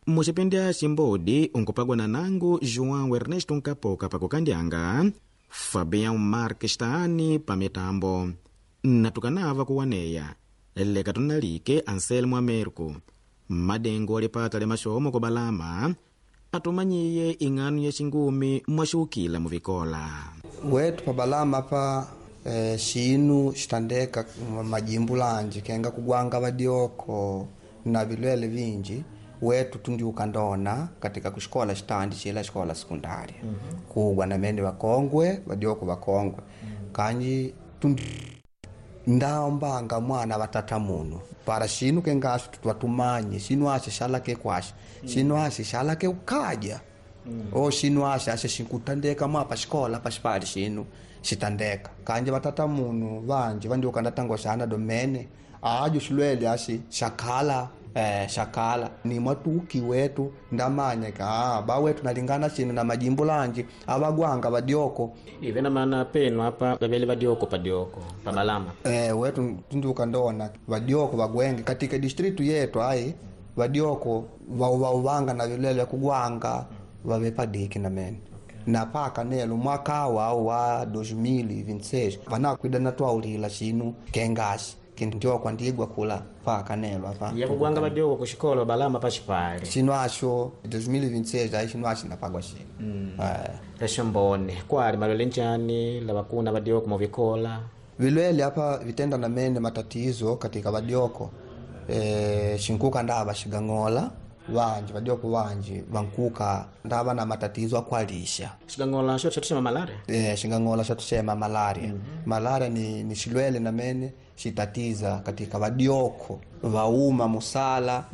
Mucipindi aci mbodi unkupagwa na nangu João Ernesto Nkapoka pakukandyanga, Fabião Marques Taani pa mitambo, natukanava kuwaneya leka tunalike Anselmo Americo madengo alipata lya maxomo kubalama atumanyiye ing'ano ya xingumi mwaxukila muvikola. Wetu pabalama pa xinu xitandeka majimbo lanji kenga kugwanga vadioko na vilwele vinji wetu tundiuka ndona katika kuxikola xitandi xila xikola sekundária. Kugwa na mene vakongwe vadioko vakongwe. Kanji tundi ndaombanga mwana vatata munu para xinu kengaxo twatumanye xinu axe xalake kwaxe xinu axe xalake ukaja o xinu axe axe xinkutandeka mwa paxikola paxipali xinu xitandeka kanji vatata munu vanji vandiuka ndatango xana domene ajo xilwele axi xakhala xakhala ni mwatuki wetu ndamanya ka ba wetu nalingana xinu na majimbo lanji avagwanga vadioko ivena mana penu apa vavele vadioko padioko pabalama. Wetu tundiuka ndona vadioko vagwenge katika distritu yetu ai vadioko vauvanga na vilele kugwanga vave padiki na mene. Na paka nelo mwaka wao wa 2026 vanakwida na twaulila xinu kengaxi kindio kwandigwa kula paka nelo apa ya kugwanga vadioko kuxikola balama paxipali xinu axo 2026 ai xinu axi napagwa xinu. Exombone kwali malwele njani lavakuna vadioko muvikola? Vilwele apa vitenda na mene matatizo katika vadioko xinkuka ndava xigang'ola vanji vadioko vanji vankuka ndava na matatizo akwalisha xigang'ola xo xatuxema malaria. Xingang'ola xatuxema malaria. Malaria ni xilwele na mene xitatiza katika vadioko vauma musala.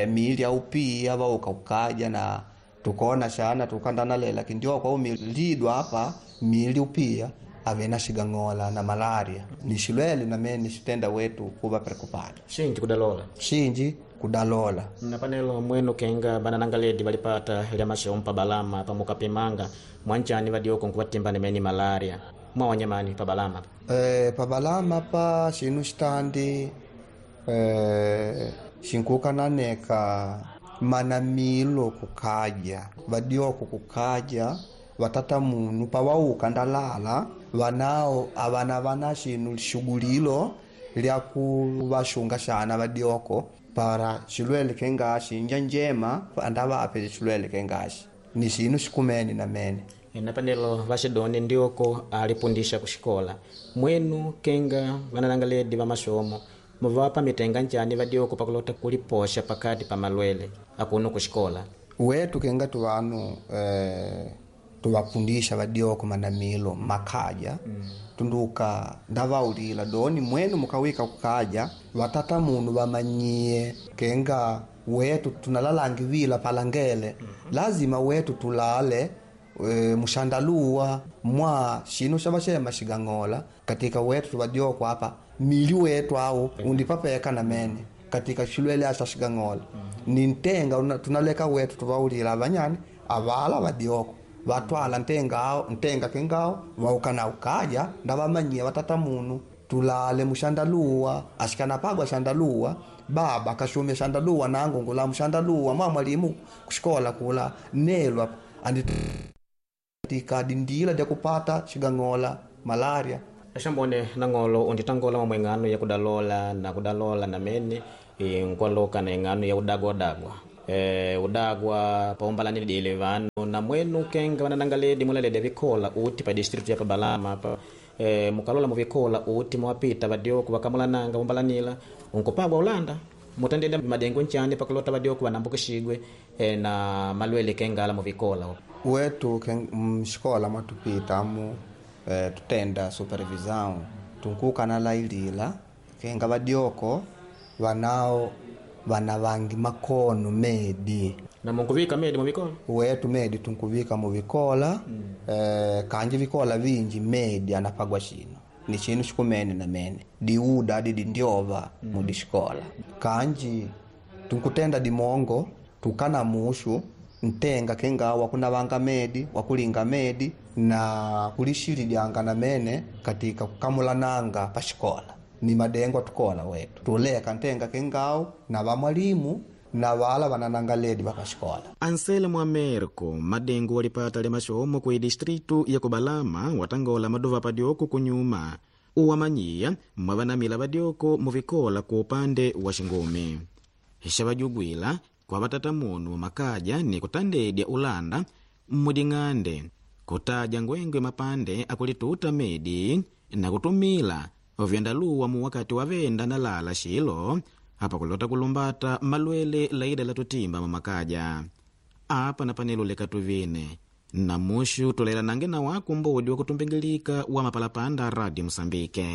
Miili aupia vauka ukaja na tukona xana tukandanalela kindioko au milidwa apa miili upia avena xigang'ola na malaria ni xilwele na mene xitenda wetu kuva preocupado xinji kudalola xinji kudalola. Na panelo mwenu kenga bananangaledi valipata lya maxompa balama pamukapimanga mwanjani vadioko nkuvatimba nemeni malaria mwawanyamani pabalama? Pabalama pa xinu xitandi xinkuka naneka manamilo kukaja vadioko kukaja vatata munu pawauka ndalala vanao avana vana xinu xugulilo lya kuvaxunga xana vadioko para xilwele kengaxi inja njema andavape xilwele kengaxi ni xinu xikumene na mene. Na panelo vaxidoni ndioko alipundisha kuxikola mwenu kenga vananangaledi va maxomo muvapa mitenga njani vadioko pakulota kulipoxa pakati pa malwele akuno kuxikola? Wetu kenga tuvanu tuvapundisha vadioko manamilo makaja. Tunduka ndavaulila doni mwenu mukawika kukaja vatata munu vamanyie kenga wetu tunalalangi palangele. Lazima wetu tulale mushandaluwa mwa xinu xa vaxema xigang'ola katika wetu tuvadioko apa mili wetu au undipapeka na mene katika xilwele axa xigang'ola. Ni ntenga tunaleka wetu tuvaulila avanyani avala vadioko vatwala ntenga kengao vauka na ukaja ndavamanyia vatata munu tulale mushandaluwa axikanapagwa xandaluwa baba kashumia xandaluwa nangu ngula mushandaluwa mwa mwalimu kuxikola kula nelwa andi katika dindila dya kupata xigang'ola malaria. Exambone nang'olo unditangola mamwe ing'ano ya kudalola na kudalola na mene nkwaloka na ing'ano ya udagwadagwa udagwa paumbalani dile vanu na mwenu kenga vananangaledi mulaledi vikola uti pa distritu ya pabalama pa mukalola muvikola uti mwapita vadioko vakamulananga umbalanila unkupagwa ulanda mutandeda madengo nchani pakulota vadioko vanambukixigwe na malwele kengala muvikola. Wetu mxikola mwatupita amu tutenda supervisão tunkuka na lailila kenga vadioko vanao vana vangi makono medi na munkuvika medi muvikola? Wetu medi tunkuvika muvikola. Kanji vikola vinji medi anapagwa xino ni xinu xikumene na mene diuda didi ndyova mudixikola kanji tunkutenda dimongo tukana muxu ntenga kenga wakunavanga medi wakulinga medi na kulixilidyanga na mene katika kukamulananga paxikola ni madengo atukola wetu tuleka ntenga kengao na vamwalimu. Na vala vananangaledi vapashikola. Anselmo Americo madengo walipata lya maxomo ku distritu ya kubalama watangola maduva padyoko kunyuma uwamanyiya mwavanamila vadyoko muvikola ku upande wa xingumi xavajugwila kwa vatata munu makaja ni kutandedya ulanda mmuding'ande kutaja ngwengwe mapande akulituta medi na kutumila vyandaluwa mu wakati wavenda na lala xilo apa kulota kulumbata malwele laida la tutimba mamakaja apa na panelo leka tuvine na muxu tulelanange na waku mbodi wa kutumbingilika wa mapalapanda Radio Musambike.